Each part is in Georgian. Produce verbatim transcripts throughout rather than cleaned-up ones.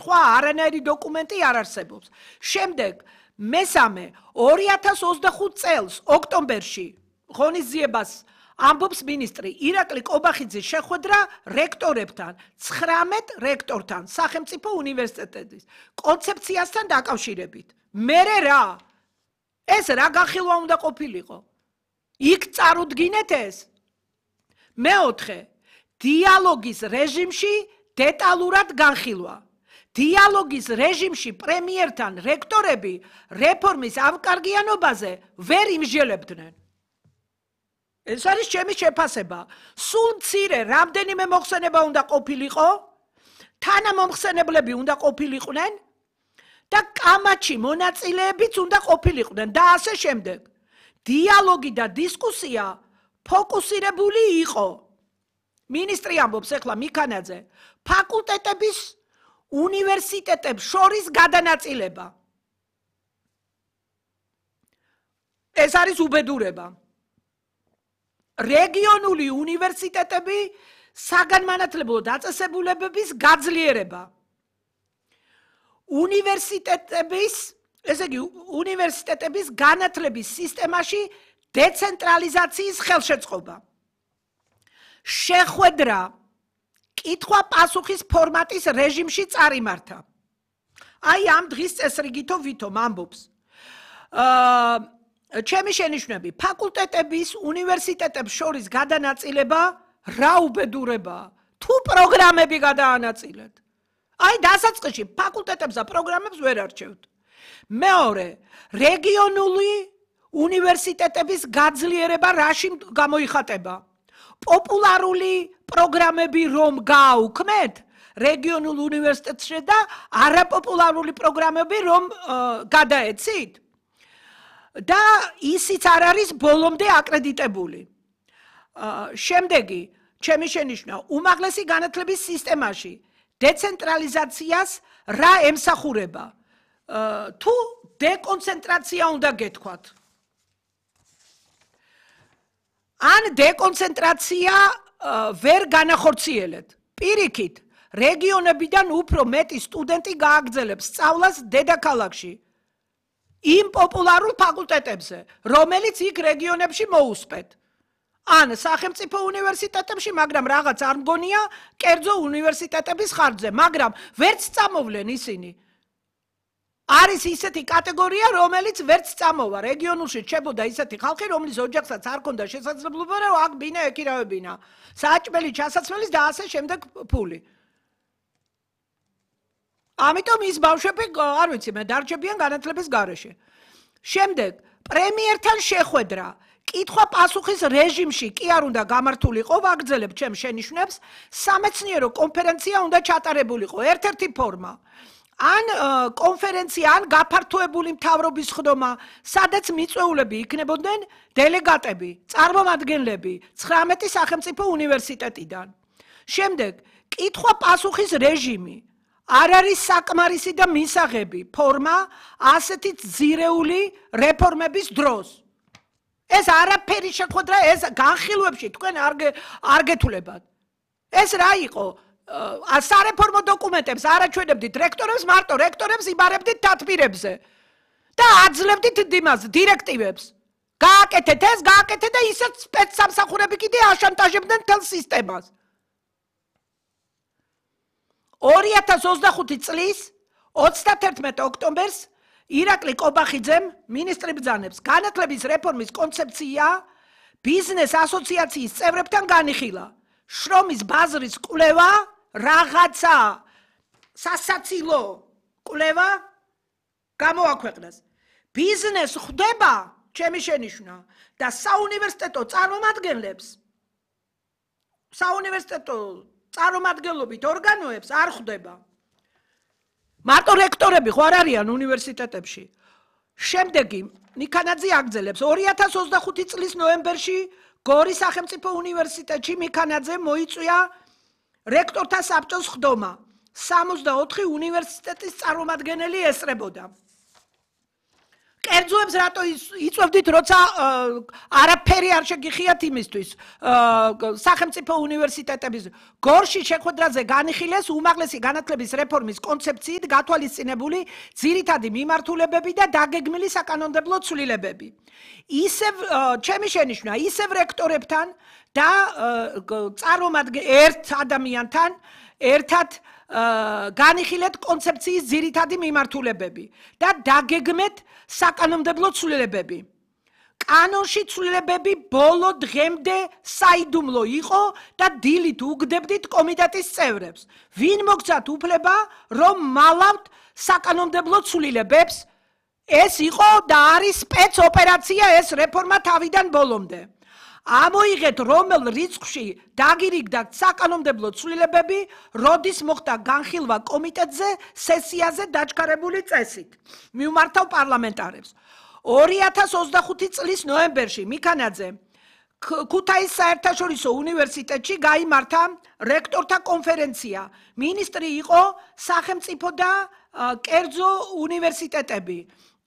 სხვა არანაირი დოკუმენტი არ არსებობს. შემდეგ მესამე ორი ათას ოცდახუთ წელს ოქტომბერში ღონისძიებას ამბობს მინისტრი ირაკლი კობახიძის შეხვედრა რექტორებთან, ცხრამეტ რექტორთან, სახელმწიფო უნივერსიტეტების კონცეფციასთან დაკავშირებით. მერე რა? ეს რა განხილვა უნდა ყოფილიყო? იქ წარუდგინეთ ეს. მეოთხე, დიალოგის რეჟიმში დეტალურად განხილვა. დიალოგის რეჟიმში პრემიერთან რექტორები რეფორმის ამკარგიანობაზე ვერ იმსჯელებდნენ. ეს არის ჩემი შეფასება. სულ მცირე რამდენიმე მოხსენება უნდა ყოფილიყო, თანამომხსენებლები უნდა ყოფილიყვნენ და კამათში მონაწილეებიც უნდა ყოფილიყვნენ და ასე შემდეგ. დიალოგი და დისკუსია ფოკუსირებული იყო. მინისტრი ამბობს ახლა მიქანაძე, ფაკულტეტების უნივერსიტეტებს შორის გადანაწილება. ეს არის უბედურება. რეგიონული უნივერსიტეტები საგანმანათლებლო დაწესებულებების გაძლიერება. უნივერსიტეტების, ესე იგი, უნივერსიტეტების განათლების სისტემაში დეცენტრალიზაციის ხელშეწყობა. შეხვედრა კითხვა-პასუხის ფორმატის რეჟიმში წარიმართა. აი ამ დღის წესრიგითო ვითომ ამბობს. აა ჩემი შენიშვნები, ფაკულტეტების, უნივერსიტეტებს შორის გადანაწილება რა უბედურებაა? თუ პროგრამები გადაანაწილეთ. აი დასაწყისში ფაკულტეტებს და პროგრამებს ვერ არჩევთ. მეორე, რეგიონული უნივერსიტეტების გაძლიერება რაში გამოიხატება? პოპულარული პროგრამები რომ გააუქმეთ რეგიონულ უნივერსიტეტში და არაპოპულარული პროგრამები რომ გადაეცით და ისიც არ არის ბოლომდე აკრედიტებული. შემდეგი, ჩემი შენიშვნა, უმაღლესი განათლების სისტემაში დეცენტრალიზაციას რა ემსახურება? თუ დეკონცენტრაცია უნდა გეთქვათ. ან დეკონცენტრაცია ვერ განახორციელეთ. პირიქით, რეგიონებიდან უფრო მეტი სტუდენტი გააგრძელებს სწავლას დედაქალაქში. იმ პოპულარულ ფაკულტეტებზე, რომელიც იქ რეგიონებში მოუსწრეთ. ან სახელმწიფო უნივერსიტეტებში, მაგრამ რაღაც არ მგონია კერძო უნივერსიტეტების ხარჯზე, მაგრამ ვერც წამოვლენ ისინი. არის ისეთი კატეგორია, რომელიც ვერც წამოვა. რეგიონულში რჩებოდა ისეთი ხალხი, რომლის ოჯახსაც არ ჰქონდა შესაძლებლობა, რომ აქ ბინა ეკირავებინა. საჭმელი, ჩასაცმელის და ასე შემდეგ ფული. ამიტომ ის ბავშვები, არ ვიცი, მე დარჩებიან განათლების გარეშე. შემდეგ, პრემიერთან შეხვედრა, კითხვა-პასუხის რეჟიმში კი არ უნდა გამართულიყო, ვაგრძელებ ჩემ შენიშვნებს, სამეცნიერო კონფერენცია უნდა ჩატარებულიყო, ერთ-ერთი ფორმა. ან კონფერენცია, ან გაფართოებული მთავრობის ხდომა, სადაც მიწვეულები იქნებოდნენ დელეგატები, წარმომადგენლები ცხრამეტი სახელმწიფო უნივერსიტეტიდან. შემდეგ, კითხვა-პასუხის რეჟიმი არ არის საკმარისი და მისაღები ფორმა ასეთი ძირეული რეფორმების დროს. ეს არაფერი შეხვედრა, ეს განხილვებში თქვენ არ გეთულებათ. ეს რა იყო? სარეფორმო დოკუმენტებს არაჩვენებდით რექტორებს, მარტო რექტორებს იბარებდით დათბირებზე და აძლევდით იმას დირექტივებს. გააკეთეთ ეს, გააკეთეთ და ისეთ სპეცსამსახურები კიდე აშანტაჟებდნენ მთელ სისტემას. ორი ათას ოცდახუთი წლის ოცდათერთმეტ ოქტომბერს ირაკლი კობახიძემ მინისტრი ბრძანებს განათლების რეფორმის კონცეფცია ბიზნეს ასოციაციის წევრებთან განიხილა. შრომის ბაზრის კვლევა რაღაცა სასაცილო კვლევა გამოაქვეყნეს. ბიზნეს ხვდება, ჩემი შენიშვნა, და საუნივერსიტეტო წარმომადგენლებს საუნივერსიტეტო წარმომადგენლობით ორგანოებს არ ხვდება. მარტო რექტორები ხო არ არიან უნივერსიტეტებში. შემდეგი მიქანაძე აგრძელებს ორი ათას ოცდახუთი წლის ნოემბერში გორის სახელმწიფო უნივერსიტეტში მიქანაძე მოიწვია რექტორთა საბჭოს ხდომა. სამოცდაოთხი უნივერსიტეტის წარმომადგენელი ესწრებოდა. კერძოებს რატო იწვევდით, როცა არაფერი არ შეგიხიათ იმისთვის სახელმწიფო უნივერსიტეტების გორში შეხვედრაზე განიხილეს უმაღლესი განათლების რეფორმის კონცეფციით გათვალისწინებული ძირითადი მიმართულებები და დაგეგმილი საკანონმდებლო ცვლილებები. ისევ ჩემი შენიშვნა, ისევ რექტორებთან და წარმომადგენელ ერთ ადამიანთან ერთად განიხილეთ კონცეფციის ძირითადი მიმართულებები და დაგეგმეთ საკანონმდებლო ცვლილებები. კანონში ცვლილებები ბოლო დღემდე საიდუმლო იყო და დილით უგდებდით კომიტეტის წევრებს. ვინ მოგცათ უფლება, რომ მალავთ საკანონმდებლო ცვლილებებს? ეს იყო და არის სპეცოპერაცია ეს რეფორმა თავიდან ბოლომდე. ამოიღეთ რომელ რიცხვში დაგირიგდა საკანონმდებლო ცვლილებები, როდის მოხდა განხილვა კომიტეტზე სესიაზე დაჩქარებული წესით. მივმართავ პარლამენტარებს. ორი ათას ოცდახუთი წლის ნოემბერში მიქანაძე ქუთაისის საერთაშორისო უნივერსიტეტში გაიმართა რექტორთა კონფერენცია. მინისტრი იყო სახელმწიფო და კერძო უნივერსიტეტები.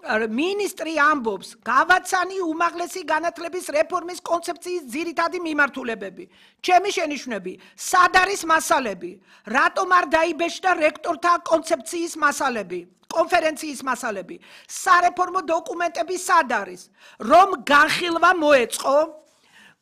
მინისტრი ამბობს, გავაცანი უმაღლესი განათლების რეფორმის კონცეფციის ძირითადი მიმართულებები. ჩემი შენიშვნები, სად არის მასალები? რატომ არ დაიბეჭდა რექტორთა კონცეფციის მასალები? კონფერენციის მასალები. სარეფორმო დოკუმენტები სად არის? რომ განხილვა მოეწყო?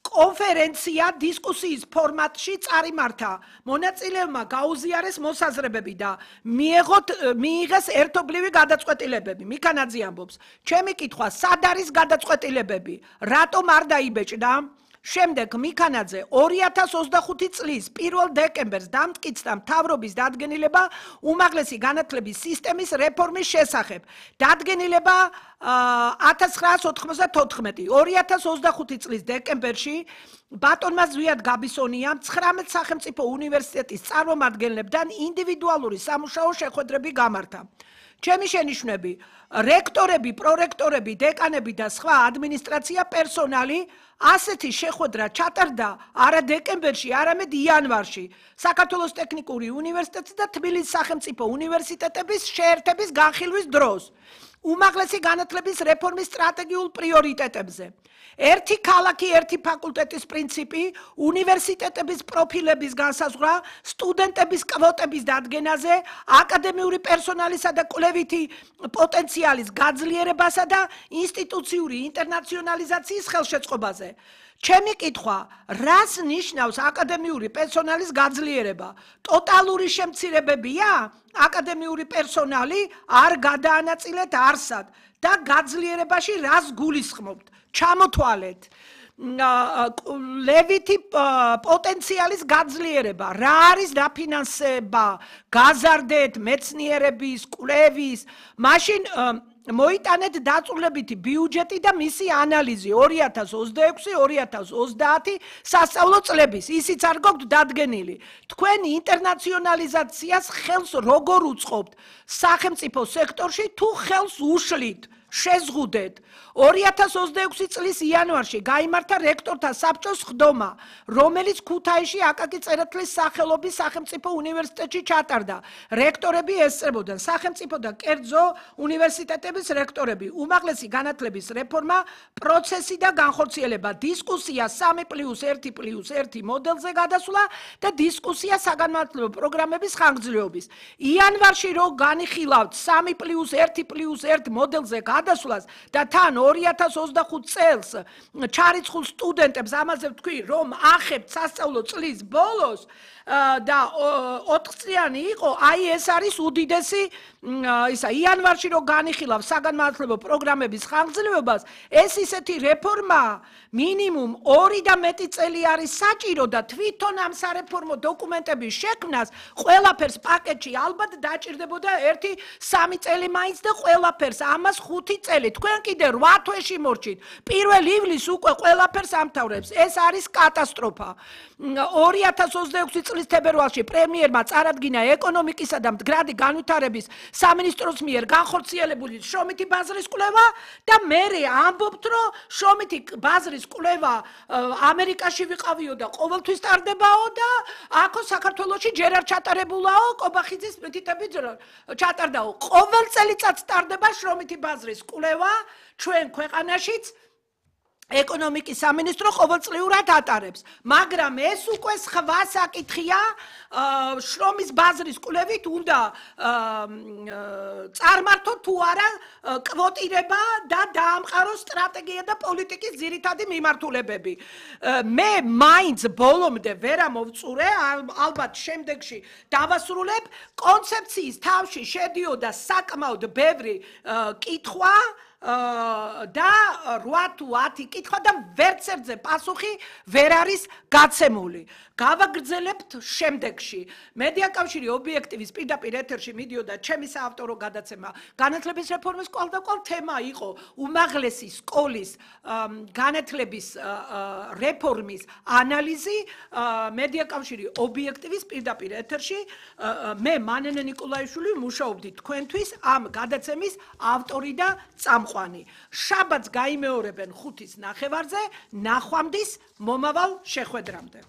კონფერენცია დისკუსიის ფორმატში წარიმართა. მონაწილეებმა გაუზიარეს მოსაზრებები და მიიღოთ მიიღეს ერთობლივი გადაწყვეტილებები. მიქანაძე ამბობს, ჩემი კითხვა, სად არის გადაწყვეტილებები? რატომ არ დაიბეჭდა? შემდეგ მიქანაძე ორი ათას ოცდახუთი წლის პირველ დეკემბერს დამტკიცდა მთავრობის დადგენილება უმაღლესი განათლების სისტემის რეფორმის შესახებ. დადგენილება ათას ცხრაას ოთხმოცდათოთხმეტი. ორი ათას ოცდახუთი წლის დეკემბერში ბატონმა ზვიად გაბისონიამ ცხრამეტ სახელმწიფო უნივერსიტეტის წარმომადგენლებთან ინდივიდუალური სამუშაო შეხვედრები გამართა. ჩემი შენიშვნები, რექტორები, პრორექტორები, დეკანები და სხვა ადმინისტრაცია პერსონალი ასეთი შეხვედრა ჩატარდა არა დეკემბერში, არამედ იანვარში, საქართველოს ტექნიკური უნივერსიტეტის და თბილისის სახელმწიფო უნივერსიტეტების შეერთების განხილვის დროს. უმაღლესი განათლების რეფორმის სტრატეგიულ პრიორიტეტებზე. ერთი ქალაქი, ერთი ფაკულტეტის პრინციპი, უნივერსიტეტების პროფილების განსაზღვრა, სტუდენტების კვოტების დადგენაზე, აკადემიური პერსონალისა და კვლევითი პოტენციალის გაძლიერებასა და ინსტიტუციური ინტერნაციონალიზაციის ხელშეწყობაზე. ჩემი კითხვა, რას ნიშნავს აკადემიური პერსონალის გაძლიერება? ტოტალური შემცირებებია? აკადემიური პერსონალი არ გადაანაწილეთ არსად და გაძლიერებაში რას გულისხმობთ? ჩამოთვალეთ. ლევითი პოტენციალის გაძლიერება, რა არის დაფინანსება, გაზარდეთ მეცნიერების, კვლევის, მაშინ მოიტანეთ დაწვრილებითი ბიუჯეტი და მისი ანალიზი ორი ათას ოცდაექვსი ორი ათას ოცდაათი სასწავლო წლების, ისიც არ გოგთ დადგენილი. თქვენ ინტერნაციონალიზაციას ხელს როგორ უწყობთ სახელმწიფო სექტორში თუ ხელს უშლით? შეზღუდეთ. ორი ათას ოცდაექვსი წლის იანვარში გაიმართა რექტორთა საბჭოს ხდომა, რომელიც ქუთაისში აკაკი წერეთლის სახელობის სახელმწიფო უნივერსიტეტში ჩატარდა. რექტორები ესწრებოდნენ სახელმწიფო და კერძო უნივერსიტეტების რექტორები, უმაღლესი განათლების რეფორმა, პროცესი და განხორციელება, დისკუსია სამი პლუს ერთი პლუს ერთი მოდელზე გადასვლა და დისკუსია საგანმანათლებლო პროგრამების ხანგრძლივობის. იანვარში რო განიხილავთ სამი პლუს ერთი პლუს ერთი მოდელზე გადასვლას და თან ორი ათას ოცდახუთ წელს ჩარიცხულ სტუდენტებს ამაზე ვთქვი, რომ ახებთ სასწავლო წლის ბოლოს და ოთხწლიანი იყო, აი ეს არის უდიდესი ისა იანვარში რო განიხილავ საგანმანათლებლო პროგრამების ხანგრძლივობას, ეს ისეთი რეფორმა მინიმუმ ორი და მეტი წელი არის საჭირო და თვითონ ამ სარეფორმო დოკუმენტების შექმნას ყველაფერს პაკეტში ალბათ დაჭირდებოდა ერთი სამი წელი მაინც და ყველაფერს ამას ხუთი წელი. თქვენ კიდე რვა თვეში მორჩით. პირველ ივლისს უკვე ყველაფერს ამთავრებს. ეს არის კატასტროფა. ორი ათას ოცდაექვსი წლის თებერვალში პრემიერმა წარადგინა ეკონომიკისა და მდგრადი განვითარების სამინისტროს მიერ განხორციელებული შრომითი ბაზრის კვლევა და მერე ამბობთ, რომ შრომითი ბაზრის კვლევა ამერიკაში ვიყავიო და ყოველთვის ტარდებაო და აქო საქართველოში ჯერ არ ჩატარებულაო, კობახიძის მითითებით ჩატარდაო. ყოველ წელიწადს ტარდება შრომითი ბაზრის ბაზრის კვლევა ჩვენ ქვეყანაშიც ეკონომიკის სამინისტრო ყოველწლიურად ატარებს, მაგრამ ეს უკვე სხვა საკითხია, შრომის ბაზრის კვლევით უნდა წარმართო თუ არა კვოტირება და დაამყაროს სტრატეგია და პოლიტიკის ძირითადი მიმართულებები. მე მაინც ბოლომდე ვერ ამოვწურე, ალბათ შემდეგში დავასრულებ, კონცეფციის თავში შედიოდა საკმაოდ ბევრი კითხვა და რვა თუ ათი კითხვა და ვერც ერთზე პასუხი ვერ არის გაცემული. გავაგრძელებთ შემდეგში. მედიაკავშირი ობიექტივის პირდაპირ ეთერში მიდიოდა ჩემი საავტორო გადაცემა. განათლების რეფორმის კვალდაკვალ თემა იყო უმაღლესი სკოლის განათლების რეფორმის ანალიზი. მედიაკავშირი ობიექტივის პირდაპირ ეთერში მე მანენე ნიკოლაიშვილი მუშაობდი თქვენთვის ამ გადაცემის ავტორი და წამყვანი. შაბათს გაიმეორებენ ხუთის ნახევარზე, ნახვამდის მომავალ შეხვედრამდე.